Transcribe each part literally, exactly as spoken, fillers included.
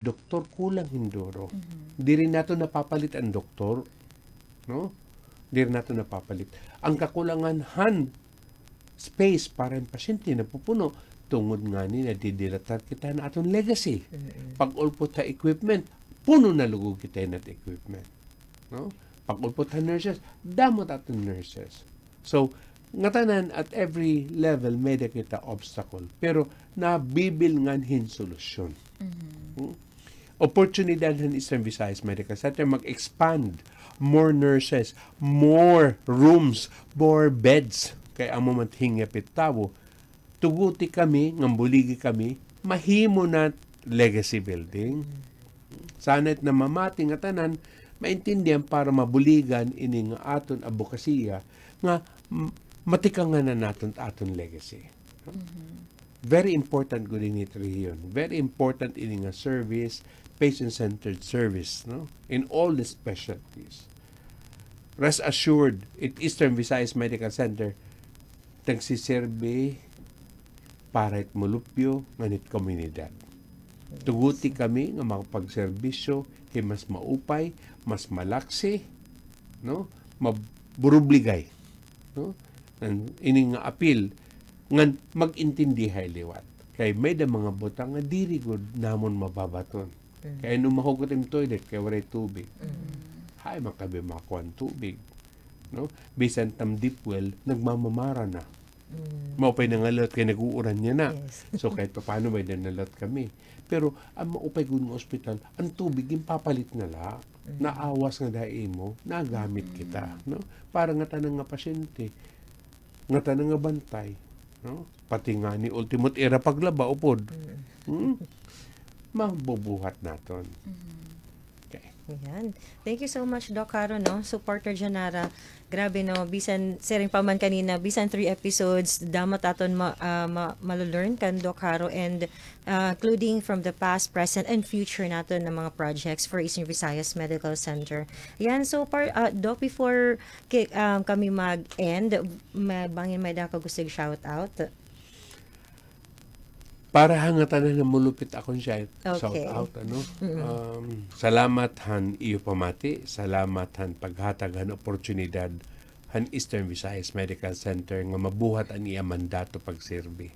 doktor, kulang hin duro. Mhm. Diri naton napapalit an doktor, no? Diri naton napapalit. An kakulangan han space para hin pasyente napupuno, tungod ngani nadidilatar kita han aton legacy. Mm-mm. Pag-ulpot ha equipment, puno na lugod kita hin aton equipment, no? Pag-ulpot ha nurses, damo it aton nurses. So, ngatanan at every level, may-ada kita obstacle. Pero nabibilngan hin solusyon. Mhm. Hmm? Oportunidad han Eastern Visayas Medical Center mag-expand, more nurses, more rooms, more beds. Kay amo man it hingyap it tawo. Tuguti kami, ngan buligi kami, mahimo na it legacy building. Sana it namamati ngatanan, maintindihan para mabuligan ini nga aton abokasiya nga m-, matikangan na naton it aton legacy. Mhm. Very important gud ini it rehiyon. Very important ini nga service, patient-centered service, no? In all the specialties. Rest assured, it Eastern Visayas Medical Center, nagsiserbi para it Mulupyo ngan it komunidad. Yes. Tuguti kami nga makapagserbisyo hin mas maupay, mas malaksi, no? Maburubligay, no? Ngan ini nga apil, ngan mag-intindihay liwat. Kay may-ada mga butang nga diri gud namon mababaton. Mm. Kay ano mahugot im toilet kay waray tubig? Mm. Hain man kami makuha hin tubig, no? Bisan it am deep well, nagmamamara na. Mm. Maupay na nga liwat kay nag-uuran yana. Yes. So, kahit papaano may-ada na liwat kami. Pero, an maupay gud nga ospital, an tubig, ginpapalit na la. Mm. Naawas ngada ha imo, nagamit kita, no? Para ngatanan nga pasyente, ngatanan nga bantay, no? Pati ngani, ultimo it ira paglaba, upod. Mm. Hmm? Mabubuhat naton. Mm. Okay. Ayan. Thank you so much, Doc Caro, no? Supporter dyan nara. Grabe, no? Bisan, siring pa man kanina, bisan three episodes, damo it aton ma-, ah, ma-, malo-learn kan Doc Caro and, ah, including from the past, present, and future naton nga mga projects for Eastern Visayas Medical Center. Ayan, so par-, ah, Doc, before ki-, um, kami mag-end, ma-, bangin may-ada ka gusto i-shout out? Para ha ngatanan nga mulupyo it akon siya, shout out, ano? Okay. Mm-mm. Um, salamat han iyo pamati, salamat han paghatag han oportunidad han Eastern Visayas Medical Center nga mabuhat an iya mandato pagserbi.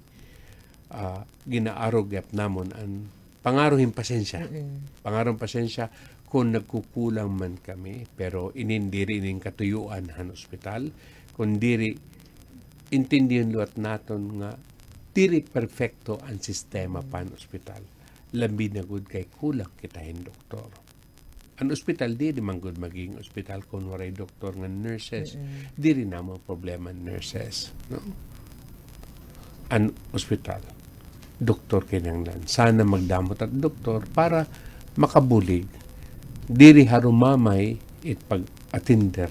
Ah, ginaarog gihap namon an pangaro hin pasensya. Mm-mm. Pangaro hin pasensya kon nagkukulang man kami, pero inin diri inin katuyoan han ospital, kon diri intindihon liwat naton nga diri perpekto an sistema pa han ospital. Labi na gud kay kulang kita hin doktor. An ospital diri man gud magiging ospital kon waray doktor ngan nurses. Mm-mm. Diri namon problema an nurses, no? An ospital, doktor kinahanglan. Sana magdamo it aton doktor para makabulig. Diri harumamay it pag-attender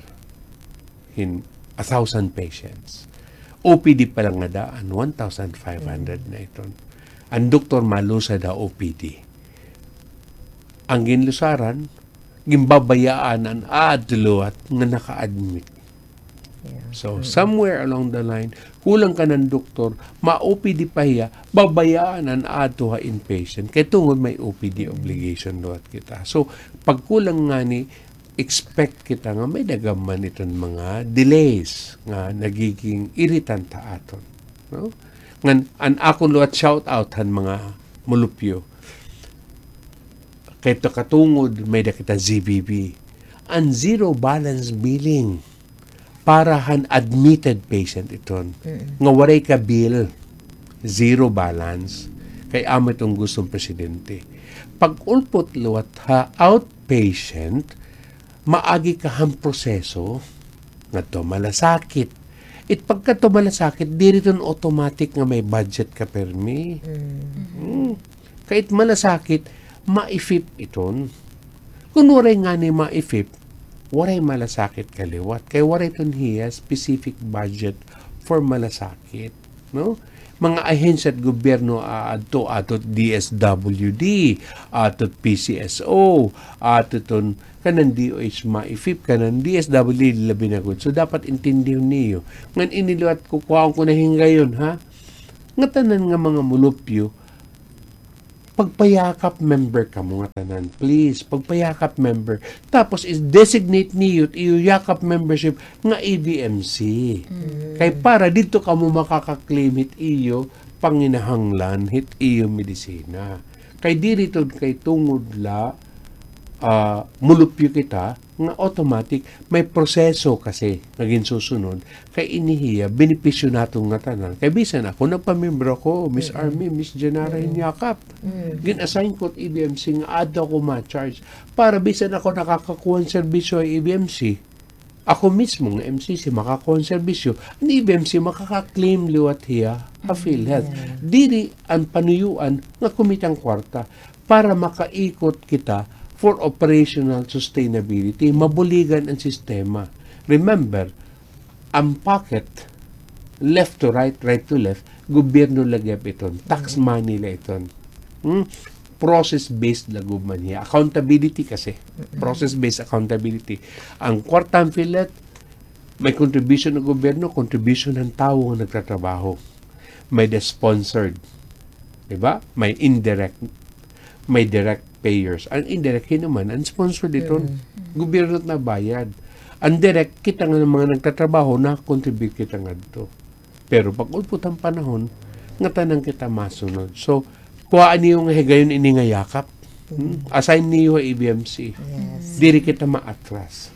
hin a thousand patients. O P D pa la ngada, an one thousand five hundred na iton. An doktor malusad ha O P D. An ginlusaran, ginbabayaan an aadto liwat nga naka-admit. Yeah. So, mm, somewhere along the line, kulang kanan doktor, ma-O P D pa hiya, babayaan an aadto ha inpatient. Kay tungod may O P D, mm, obligation liwat kita. So, pagkulang ngani, expect kita nga may-ada gad man iton mga delays nga nagiging irritant ha aton, no? Ngan, an akon liwat shout out han mga mulupyo. Kay ito katungod, may-ada kita Z B B. An zero balance billing para han admitted patient iton. Mm. Nga waray ka bill, zero balance. Kay amo iton gusto han presidente. Pag-ulpot liwat ha outpatient, maagi ka han proseso ngadto ha malasakit. It pagkadto ha malasakit, diri iton automatic nga may budget ka pirmi. Mm. Mm. Kay it malasakit, ma-equip iton. Kon waray ngani ma-equip, waray malasakit ka liwat. Kay waray iton hiya specific budget for malasakit, no? Mga ahensya han gobyerno aadto, aadto D S W D, aadto P C S O, aadto iton kanan D O H ma-equip, kanan D S W D labi na gud. So, dapat intindihon niyo. Ngan ini liwat kukuhaon ko na hin gayon, ha? Ngatanan nga mga mulupyo, Pagpayakap member kamo ngatanan, please. Pagpayakap member. Tapos is-designate niyo it iyo yakap membership nga E V M C. Mm. Kay para didto kamo makaka-claim hit iyo panginahanglan, hit iyo medisina. Kay diri ito kay tungod la, ah, mulupyo kita, nga automatic, may proseso kasi nga ginsusunod, kay ini hiya, benepisyo naton ngatanan. Kay bisan ako, nagpamiyembro ako, Miss Army, Miss Janara, hin yakap. Gin-assign ko it E V M C nga adto ako ma-charge. Para bisan ako nakakakuha hin serbisyo ha E V M C, ako mismo nga M C C makakuha hin serbisyo, an E V M C makaka-claim liwat hiya ha PhilHealth. Diri an panuyuan nga kumita hin kwarta para makaikot kita for operational sustainability, mabuligan an sistema. Remember, an pocket, left to right, right to left, gobyerno la gihap iton, tax money la iton. Hmm? Process-based la gud man hiya. Accountability kasi. Process-based accountability. An kwarta han PhilHealth, may contribution han gobyerno, contribution han tawo nga nagtatrabaho. May the sponsored. Di ba? May indirect, may direct payers. An indirect, hin-o man, an sponsored iton, gobyerno it nabayad. An direct, kita nga mga nagtatrabaho, naka-contribute kita ngadto. Pero pag-ulpot han panahon, ngatanan kita masunod. So, kuhaa niyo nga higayon ini nga yakap. Hmm? Assign niyo ha E V M C. Yes. Diri kita maatras.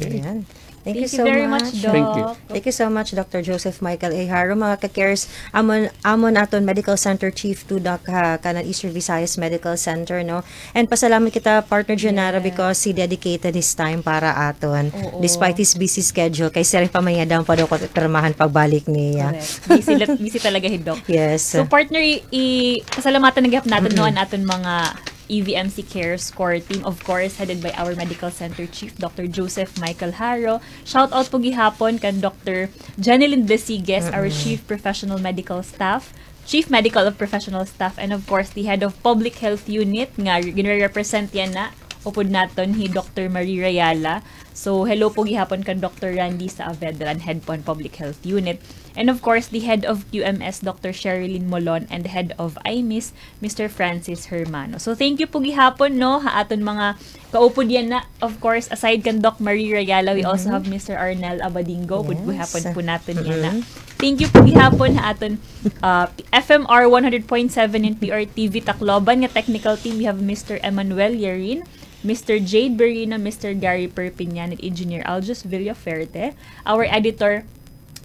Okay? Ayan. Thank you so much, Doc. Thank you. Thank you so much, Doctor Joseph Michael A. Haro. Mga ka-cares, amon, amon aton Medical Center Chief to, Doc, ha kanan Eastern Visayas Medical Center, no? And pasalamat kita, Partner Janara, because he dedicated his time para aton, despite his busy schedule. Kay siring pa man niya daw pa daw ko pirmahan pagbalik niya. Correct. Busy, busy talaga hi Doc. Yes. So, partner, i-, i-, pasalamatan na gihap naton, no, an aton mga E V M C Cares Core Team, of course, headed by our Medical Center Chief, Doctor Joseph Michael Haro. Shout out po gihapon kan Doctor Jenilyn Besigues, our Chief Professional Medical Staff, Chief Medical of Professional Staff, and of course, the Head of Public Health Unit, nga ginre-represent yana, upod naton hi Doctor Marie Rayala. So, hello po gihapon kan Doctor Randy Saavedra, an Head po han Public Health Unit. And of course, the Head of Q M S, Doctor Sherilyn Molon, and the Head of I M I S, Mister Francis Hermano. So, thank you po gihapon, no, ha aton mga kaupod yana. Of course, aside kan Doc Marie Rayala, we also have Mister Arnel Abadingo. Upod gihapon po naton yana. Thank you po gihapon ha aton, uh, F M R one hundred point seven in P R T V Tacloban nga technical team. We have Mister Emmanuel Yerin, Mister Jade Berino, Mister Gary Perpignan, and Engineer Aljus Villaferte. Our editor,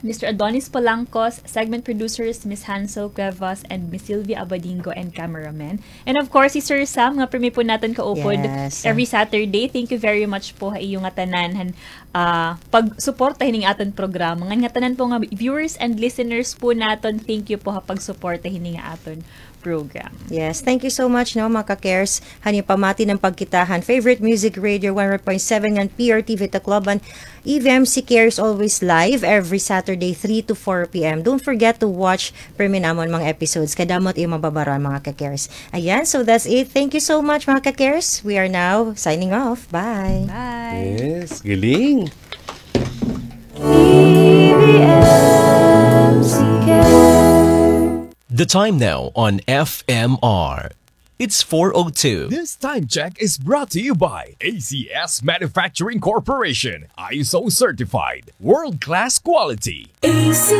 Mister Adonis Palancos, segment producers, Miss Hansel Cuevas and Miss Sylvia Abadingo, and cameraman. And of course, si Sir Sam, nga pirmi po naton kaupod every Saturday. Thank you very much po ha iyo ngatanan han, ah, pagsuporta hining aton programa. Ngan ngatanan po nga viewers and listeners po naton, thank you po ha pagsuporta hini nga aton program. Yes, thank you so much, no, mga ka-cares. Han iyo pamati nga pagkita han favorite music radio, one oh one point seven ngan P R T V Tacloban. E V M C Cares always live every Saturday, three to four P M. Don't forget to watch pirmi namon mga episodes. Kadamo it iyo mababaro-an, mga ka-cares. Ayan, so that's it. Thank you so much, mga ka-cares. We are now signing off. Bye. Bye. Yes, galing. E V M C Cares. The time now on F M R. It's four oh two. This time check is brought to you by A C S Manufacturing Corporation, I S O certified, world-class quality. A C